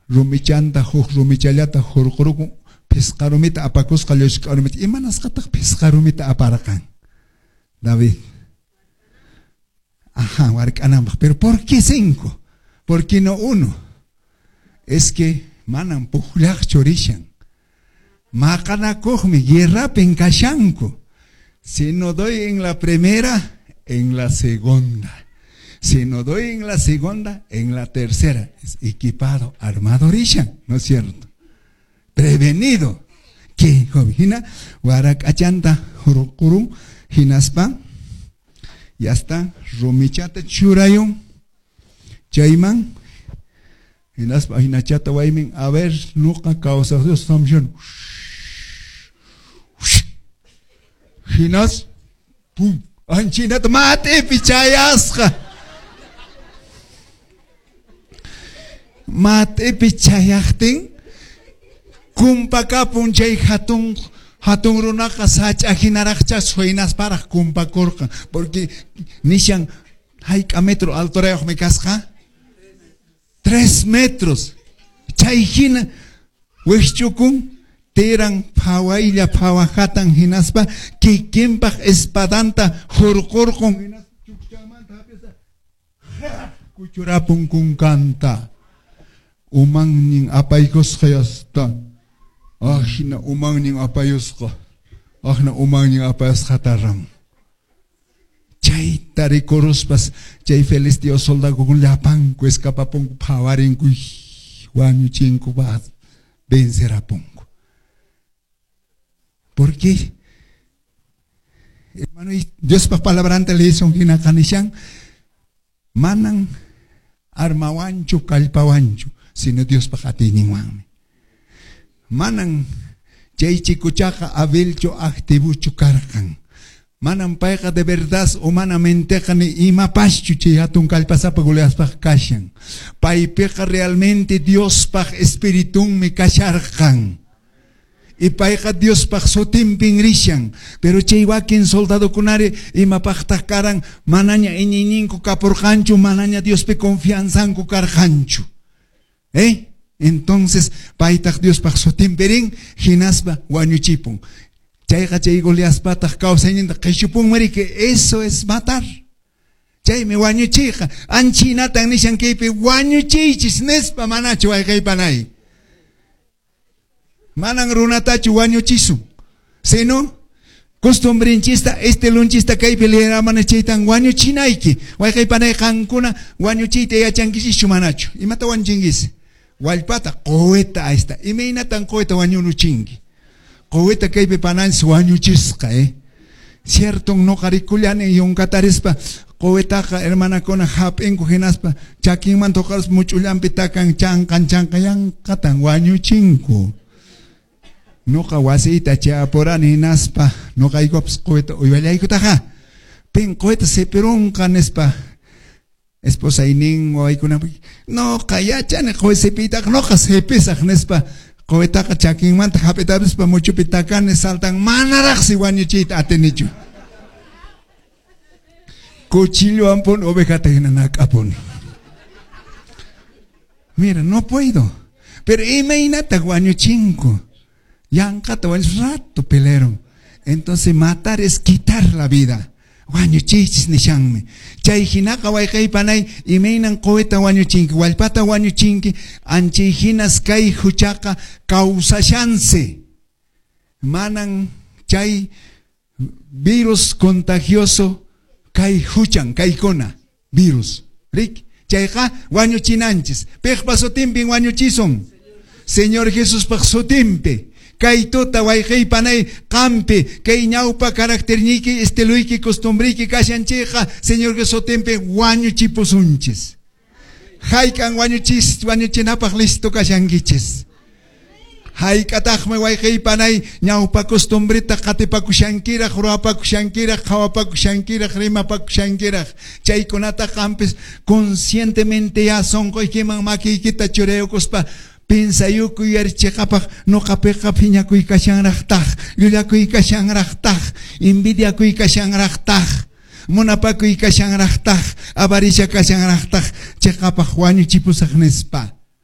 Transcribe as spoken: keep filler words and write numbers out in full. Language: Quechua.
Rumichanta huk rumichallata hurqurukun phisqa rumita apakusqa llushk'a rumita. Imanasqataq phisqa rumita aparqan David? Ajá, wark'ananpaq. Pero ¿por qué cinco? ¿Por qué no uno? Es que manan pukllaqchu rishan. Maqanakuqmi, guerrapin kashanku. Si no doy en la primera, en la segunda. Si no doy en la segunda, en la tercera. Es equipado, armado rishan, ¿no es cierto? Prevenido. Que hina warak'achanta hurqurun hinaspa ya está rumichata churayun chayman hinaspa hinachata waymin a ver nuqa kawsaq Dios samshan hinas pum anchinata mat'ipi chayasqa mat'ipi chayaqtin kumpakapun chay hatun hatun runaqa sach'a hinaraqcha suynasparaq kumpakurqan porque nishan hayk'a metro alturayuqmi kasqa tres metros chay hina wikchukun tiran phawaylla phawajatan hinaspa kikinpaq espadanta hurqurqun hinaspa chukchamanta hap'ispa kuchurapun kunkanta umannin apaykusqa yasta ajina umannin apayusqa ajna umannin apayusqata ram chayta rikuruspas chay filisteo soldadokuna llapanku escapapunku phawarinku wañuchinku vencerapunku. ¿Por qué? Hermano, Diospa palabranta leison hina kanishan manan armawanchu kallpawanchu sino Diospa atiyninwanmi. Manan chay chikuchaqa abilchu activuchu karqan. Manan payqa de verdad humanamenteqa ni imapaschu chay hatun kallpasapa Goliatpaq kashan. Paypiqa realmente Diospaq espiritunmi kasharqan. Y payqa Diospaq sutinpin rishan. Pero chay wakin soldadokunari imapaqtaq karan manaña iñiyninku kapurqanchu, manaña Diospi confianzanku karqanchu. ¿Eh? Entonces paytaq Diospaq sutinpi rin hinaspa wañuchipun. Chayqa chay Goliatpataq kawsayninta qhishupunmari que eso es matar. Chaymi wañuchiyqa anchinatan nishan kaypi wañuchiychis nispa manachu wayqaypanay. Manan runatachu wañuchisun, sino costumbrinchista, estilunchista kaypi leeramana chaytan wañuchinayki. Wayqaypanay qankuna wañuchiyta yachankichischu manachu. Imata wañuchinkis? Wallpata, quwita ahí está. Imaynatan quwita wañuruchinki? Quwita kaypi pananchis wañuchisqa, eh. Cierto, noqa rikullani yunkatarispa quwitaqa hermanakuna hap'inku hinaspa chakinmanta huqarispa much'ullanpi takan chanqan chanqan yanqatan wañuchinku. Noqa wasiyta chayapurani hinaspa noqaykupas quwita uywallaykutaqa pin quwita sipirunqa nispa esposaynin wawaykuna noqa yachani quwi sipiytaqa noqa sipisaq nispa quwitaqa chakinmanta hap'itapispa muchupi takani saltan manaraqsi wañuchiyta atinichu. Cuchillowan pun ovejata hina nak'apuni. Mira, no puedo. Pero imaynataq wañuchinku. Yanqata wañuch rato pelearon. Entonces matar es quitar la vida. Wañuchiychis nishanmi. Chay hinaqa wayqaypanay imaynan quwita wañuchinki, wallpata wañuchinki, anchay hinas kay huchaqa kawsashansi. Manan chay virus contagioso kay huchan, kaykuna virus. Rik, chayqa wañuchinanchis. Piqpa sutinpin wañuchisun. Señor Jesuspaq sutinpi. Kay tuta wayqaypanay qampi kay ñawpa caracterniyki estiluyki costumbriyki kashanchikqa Señor Jesús sutinpi wañuchipusunchis. Hayk'an wañuchis wañuchinapaq listo kashankichis. Hayk'ataqmi wayqaypanay ñawpa costumbrita qatipakushankiraq ruwapakushankiraq qhawapakushankiraq rimapakushankiraq chaykunata qampis conscientemente ya sunquykiman makiykita churayukuspa pensayukuy yarichiqapaq noqapiqa phiñakuy kashanraqtaq llullakuy kashanraqtaq envidiakuy kashanraqtaq munapakuy kashanraqtaq avaricia kashanraqtaq chiqapaq wañuchipusaq nispa.